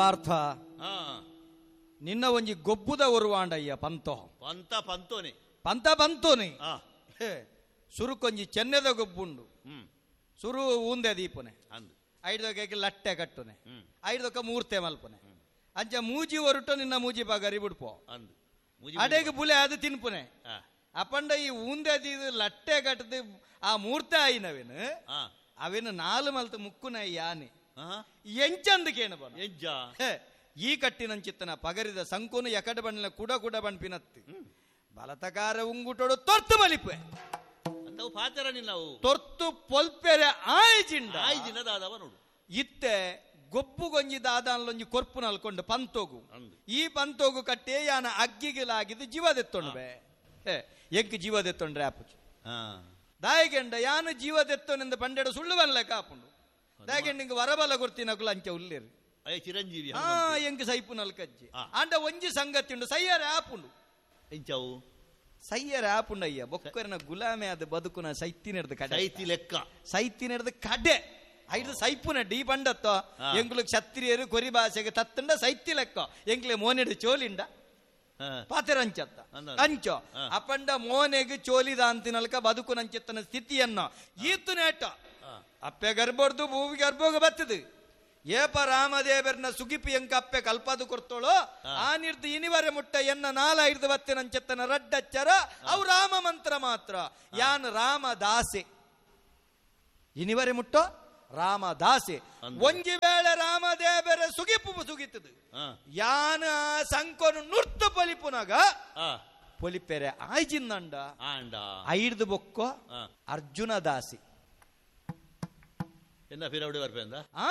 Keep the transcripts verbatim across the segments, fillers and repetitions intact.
ಪಾರ್ಥ ನಿನ್ನ ಒಂಜಿ ಗೊಬ್ಬುದ ಒರುವಾಂಡಯ್ಯ ಪಂತೋ ಪಂತ ಪಂತೋನೆ ಪಂತ ಪಂತೋನೆ ಸುರುಕೊಂಜಿ ಚೆನ್ನೆದ ಗೊಬ್ಬುಂಡು ಸುರು ಊಂದೆ ದೀಪನೆ ಐದೊಕ್ಕೆ ಲಟ್ಟೆ ಕಟ್ಟುನೆ ಐದೊಕ್ಕ ಮೂರ್ತೆ ಮಲ್ಪನೆ ಅಂಚ ಮೂಜಿ ಒರುಟು ನಿನ್ನ ಮೂಜಿ ಪಗರಿ ಬಿಡ್ಪೋ ಅಡೆಗೆ ಬುಲೆ ಅದು ತಿನ್ಪುನೆ ಅಪಂಡ ಈ ಊಂದೆ ದೀದು ಲಟ್ಟೆ ಕಟ್ಟದು ಆ ಮೂರ್ತೆ ಆಯಿನವೇನು ಅವೇನು ನಾಲು ಮಲ್ತು ಮುಕ್ಕುನ ಯಾನೆ ಎಂಚಂದಕೇನು ಬನ ಈ ಕಟ್ಟಿನಂಚಿತ್ತನ ಪಗರಿದ ಸಂಕೋನು ಎಕಡ ಬಣ್ಣ ಕುಡ ಕುಡ ಬಣ್ಪಿನತ್ತಿ ಬಲತಕಾರ ಉಂಗುಟೋಡು ತೊರ್ತು ಬಲಿಪೆ ತೊರ್ತು ಪೊಲ್ಪೆರೆ ಆಯ್ಜಿಂಡ ನೋಡು ಇತ್ತೆ ಗೊಬ್ಬು ಗೊಂಜಿ ದಾದಾನ್ಲೊಂಜಿ ಕೊರ್ಪು ನಲ್ಕೊಂಡು ಪಂತೋಗು ಈ ಪಂತೋಗು ಕಟ್ಟೆ ಯಾನ ಅಗ್ಗಿಗಿಲಾಗಿದ್ದು ಜೀವದೆತ್ತೊಂಡ್ಬೆ ಎಂಕ್ ಜೀವದೆತ್ತೊಂಡ್ರೆ ಆಪುಜಿ ದಾಯಗೆಂಡ ಯಾನು ಜೀವದೆತ್ತೊನೆಂದು ಪಂಡೆಡು ಸುಳ್ಳು ಬನ್ಲೆ ಕಾಪುಂಡು ದಾಯಗೆಂಡ ವರಬಲ ಕೊರ್ತಿನಕುಲು ಅಂಚ ಉಲ್ಲೇರು ಚಿರಂಜೀವಿ ಹಾ ಎಂಕ್ ಸೈಪು ನಲ್ಕಜ್ಜಿ ಆಂಡ ಒಂಜಿ ಸಂಗತಿ ಉಂಡು ಸೈಯರ ಆಪುಂಡು ಎಂಚವು ಸೈಯರ ಆಪುಂಡಯ್ಯ ಬೊಕ್ಕರನ ಗುಲಾಮೆ ಅದು ಬದುಕುನ ಸೈತಿನೆಡ್ದು ಕಡೆ ಸೈತಿ ಲೆಕ್ಕ ಸೈತಿನೆಡ್ದು ಕಡೆ ಐದು ಸೈಪುನ ಡಿ ಪಂಡತ್ತೋ ಎಂಕ್ಲು ಕ್ಷತ್ರಿಯರು ಕೊರಿ ಭಾಷೆಗೆ ತತ್ತಂಡ ಸೈತಿ ಲೆಕ್ಕ ಎಂಕ್ಲೆ ಮೋನೆಡು ಚೋಲಿಂಡ ಪಾತೆರಂಚತ್ತ ಅಂಚೋ ಅಪಂಡ ಮೋನೆಗೆ ಚೋಲಿದ ಅಂತಿನಲ್ಕ ಬದುಕುನಂಚಿತ್ತನ ಸ್ಥಿತಿಯನ್ನು ಈತು ನೇಟ ಅಪ್ಪೆ ಗರ್ಭರ್ದು ಭೂಮಿ ಗರ್ಭೋಗ ಬರ್ತದೆ ಏಪ ರಾಮದೇವರನ ಸುಗಿಪಿ ಎಂಕ ಅಪ್ಪೆ ಕಲ್ಪದು ಕೊಡ್ತೋಳು ಆ ನಿರ್ದು ಇನಿವರೆ ಮುಟ್ಟ ಎನ್ನ ನಾಲ ಹಿಡಿದು ಬತ್ತಿನಂచెತ್ತನ ರಡ್ಡಚ್ಚರ ಅವು ರಾಮ ಮಂತ್ರ ಮಾತ್ರ ಯಾನ್ ರಾಮದಾಸೆ ಇನಿವರೆ ಮುಟ್ಟೋ ರಾಮದಾಸೆ ಒಂಜಿ ವೇಳೆ ರಾಮದೇವರ ಸುಗಿಪು ಸುಗಿತದು ಯಾನ ಸಂಕೋನು ನುರ್ತು ಪೊಲಿಪುನಾಗ ಪೊಲಿಪೆರೆ ಆಯ್ಜಿಂದಂಡ ಐಡ್ದು ಬೊಕ್ಕೋ ಅರ್ಜುನ ದಾಸಿ ಎನ್ನ ಬೀರೌಡು ಬರ್ಪೆ ಅಂದ ಆ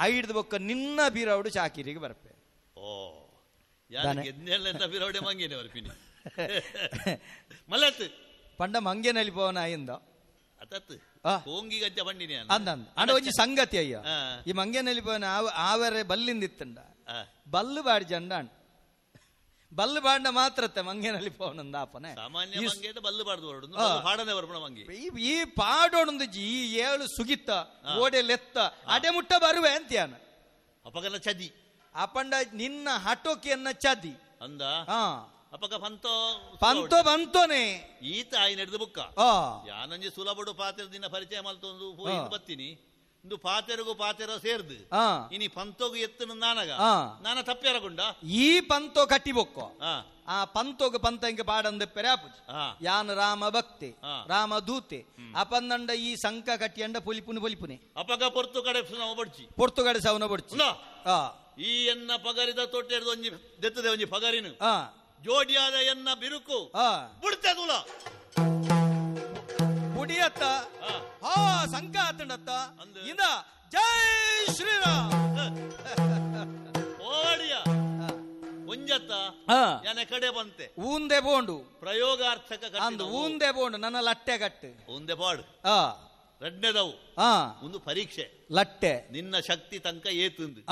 ಐಡ್ದು ಬೊಕ್ಕ ನಿನ್ನ ಬೀರೌಡು ಚಾಕಿರಿಗೆ ಬರ್ಪೆ ಓ ಯಾರು ಬೀರೌಡೆ ಮಂಗೇನೆ ಬರ್ಪಿನಿ ಮಲ್ಲತ್ತು ಪಂಡ ಮಂಗೇನಲ್ಲಿ ಪೋವನ ಆಯಿಂದ ಅತತ್ತು ಕೋಂಗಿ ಗಜ್ಜ ಬಂಡಿನಿ ಅಂದ ಅಂಡ ಒಂಜಿ ಸಂಗತಿ ಅಯ್ಯ ಈ ಮಂಗೇನಲ್ಲಿ ಪೋವನ ಆವರೆ ಬಲ್ಲಿಂದಿತ್ತಂಡ ಬಲ್ಲು ಬಾಡಿ ಜಂಡ ಬಲ್ಲು ಬಾಂಡ ಮಾತ್ರತ್ತೆ ಮಂಗೇನಲ್ಲಿ ಪೋವನಂದ ಆಪನೆ ಸಾಮಾನ್ಯ ಮಂಗೇದ ಬಲ್ಲು ಬಾಡ್ದು ಹೊರಡು ಪಾಡನೆ ಬರ್ಪಣ ಮಂಗಿ ಈ ಪಾಡೋಣಂದು ಈ ಏಳು ಸುಗಿತ್ತ ಓಡೆಲೆತ್ತ ಅಡೆ ಮುಟ್ಟ ಬರುವೆ ಅಂತ್ಯಾನ ಅಪಗನ ಚದಿ ಅಪಂಡ ನಿನ್ನ ಹಟೋಕಿಯನ್ನ ಚದಿ ಅಂದ ಅಪಕ ಪಂತೋ ಪಂತೋ ಬಂತೋನೆ ಈತ ಆಯಿ ನಡೆದು ಬುಕ್ಕ ಯಾನಂಜಿ ಸುಲಭಡು ಪಾತ್ರ ದಿನ ಪರಿಚಯ ಮಲ್ತೊಂದು ಹೋಗಿ ಬತ್ತೀನಿ ಇಂದು ಪಾತೆರಗು ಪಾತೆರ ಸೇರ್ದು ಇನಿ ಪಂತೋಗು ಎತ್ತನು ನಾನಗ ನಾನ ತಪ್ಪ್ಯಾರಗುಂಡ ಈ ಪಂತೋ ಕಟ್ಟಿಬೊಕ್ಕೋ ಆ ಪಂತೋಗು ಪಂತ ಇಂಕ ಪಾಡಂದ ಪೆರಾಪುಜಿ ಯಾನ್ ರಾಮ ಭಕ್ತಿ ರಾಮ ದೂತೆ ಅಪಂದಂಡ ಈ ಸಂಕ ಕಟ್ಟಿಯಂಡ ಪೊಲಿಪುನು ಪೊಲಿಪುನೆ ಅಪಗ ಪೊರ್ತು ಕಡೆ ಬಡ್ಚಿ ಪೊರ್ತು ಕಡೆ ಸವನ ಬಡ್ಚಿ ಈ ಎನ್ನ ಪಗರಿದ ತೊಟ್ಟೆರ್ದು ಒಂಜಿ ದೆತ್ತದೆ ಒಂಜಿ ಪಗರಿನು ಜೋಡಿಯಾದ ಎನ್ನ ಬಿರುಕು ಬಿಡ್ತೆ ತುಲ ಬುಡಿಯತ್ತ ಹಾ ಸಂಕ ಆತಂಡತ್ತ ಇಂದ ಜೈ ಶ್ರೀರಾಮ್ ಓಡಿಯ ಒಂಜತ್ತ ಯಾನೆ ಕಡೆ ಬಂತೆ ಊಂದೆ ಬೋಂಡು ಪ್ರಯೋಗಾರ್ಥಕ ಅಂದು ಊಂದೆ ಬೋಂಡು ನನ್ನ ಲಟ್ಟೆ ಕಟ್ಟು ಊಂದೆ ಪಾಡು ರಡ್ನೆದವು ಒಂದು ಪರೀಕ್ಷೆ ಲಟ್ಟೆ ನಿನ್ನ ಶಕ್ತಿ ತನಕ ಏತಂದು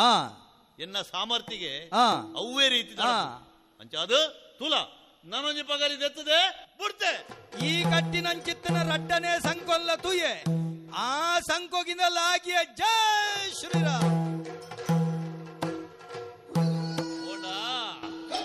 ಎನ್ನ ಸಾಮರ್ಥ್ಯಗೆ ಅವೇ ರೀತಿ ಅಂಚ ಅದು ತುಲ ನಾನೊಂಜಿ ಪಗರಿ ದೆತ್ತದೆ ಬಿಡ್ತೆ ಈ ಕಟ್ಟಿನಂಚಿತ್ತನ ರಡ್ಡನೆ ಸಂಕೊಲ್ಲ ತುಯೆ ಆ ಸಂಕೋಗಿಂದ ಲಾಗಿಯ ಜೈ ಶ್ರೀರಾಮ್.